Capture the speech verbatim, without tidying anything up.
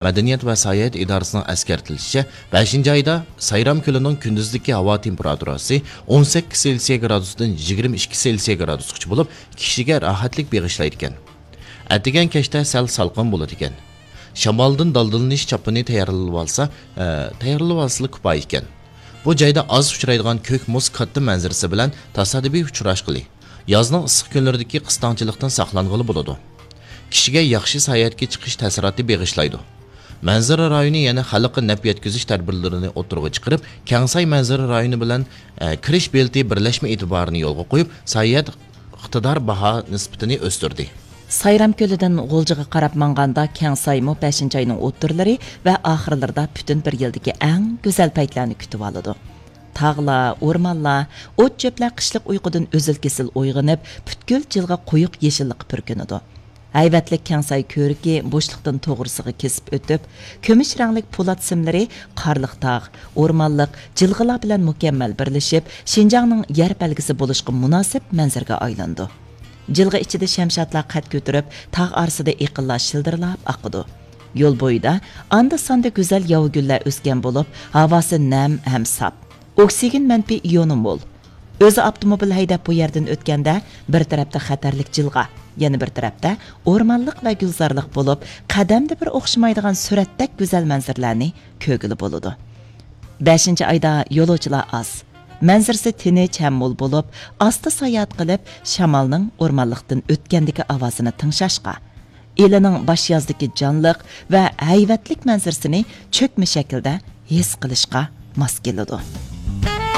مەدەنىيەت ۋە ساياھەت ئىدارىسىنىڭ ئەسكەرتىلىشىچە، بەشىنچى ئايدا سايرام كۆلىنىڭ كۈندۈزدىكى ھاۋا تېمپېراتۇراسى ئون سەككىز سېلسىيە گرادۇستىن يىگىرمە ئىككى سېلسىيە گرادۇسقىچە بولۇپ، كىشىگە راھەتلىك بېغىشلايدىكەن. ئەتىگەن كەچتە سەل سالقىن بولىدىكەن. شامالدىن دالدىلىنىش چاپىنى تەييارلىۋالسا، ئە، تەييارلىۋالسىلا كۇپايىكەن. بۇ جايدا ئاز ئۇچرايدىغان كۆك مۇز كاتتا مەنزىرىسى بىلەن تاسادىپىي ئۇچراشقىلى، يازنىڭ ئىسسىق كۈنلىرىدىكى قىستاڭچىلىقتىن ساقلانغىلى بولىدۇ. كىشىگە ياخشى ساياھەتكە چىقىش تەسىراتى بېغىشلايدۇ. مەنزىرە رايونى يەنە خەلققە نەپ يەتكۈزۈش تەدبىرلىرىنى ئوتتۇرىغا چىقىرىپ، كەڭساي مەنزىرە رايونى بىلەن، ئە، كىرىش بېلىتى بىرلەشمە ئېتىبارىنى يولغا قويۇپ، ساياھەت ئىقتىدار باھا نىسبىتىنى ئۆستۈردى. سايرام كۆلىدىن غۇلجىغا قاراپ ماڭغاندا، كەڭسايمۇ بەشىنچى ئاينىڭ ئوتتۇرىلىرى ۋە ئاخىرلىرىدا پۈتۈن بىر يىلدىكى ئەڭ گۈزەل پەيتلەرنى كۈتۈۋالىدۇ. تاغلار، ئورمانلار، ئوت-چۆپلەر قىشلىق ئۇيقۇدىن ئۈزۈل-كېسىل ئويغىنىپ، پۈتكۈل جىلغا قويۇق يېشىللىققا پۈركىنىدۇ. ھەيۋەتلىك كەڭساي كۆۋرۈكى بوشلۇقتىن توغرىسىغا كېسىپ ئۆتۈپ، كۈمۈش رەڭلىك پولات سىملىرى قارلىق تاغ، ئورمانلىق جىلغىلار بىلەن مۇكەممەل بىرلىشىپ، شىنجاڭنىڭ يەر بەلگىسى بولۇشقا مۇناسىپ مەنزىرىگە ئايلىنىدۇ. جىلغا ئىچىدە شەمشادلار قەد كۆتۈرۈپ، تاغ ئارىسىدا ئېقىنلار شىلدىرلاپ ئاقىدۇ. يول بويىدا ئاندا-ساندا گۈزەل ياۋا گۈللەر ئۆسكەن بولۇپ، ھاۋاسى نەم ھەم ساپ. ئوكسىگېن مەنپىي ئىيونى مول. ئۆزى ئاپتوموبىل ھەيدەپ بۇ يەردىن ئۆتكەندە، بىر تەرەپتە خەتەرلىك جىلغا، يەنە بىر تەرەپتە ئورمانلىق ۋە گۈلزارلىق بولۇپ، قەدەمدە بىر ئوخشىمايدىغان سۈرەتتەك گۈزەل مەنزىرىلەرنى كۆرگىلى بولىدۇ. بەشىنچى ئايدا يولۇچىلار ئاز. مەنزىرىسى تىنچ ھەم مول بولۇپ، ئاستا ساياھەت قىلىپ، شامالنىڭ ئورمانلىقتىن ئۆتكەندىكى ئاۋازىنى تىڭشاشقا، ئىلىنىڭ باش يازدىكى جانلىق ۋە ھەيۋەتلىك مەنزىرىسىنى چۆكمە شەكىلدە ھېس قىلىشقا ماس كېلىدۇ.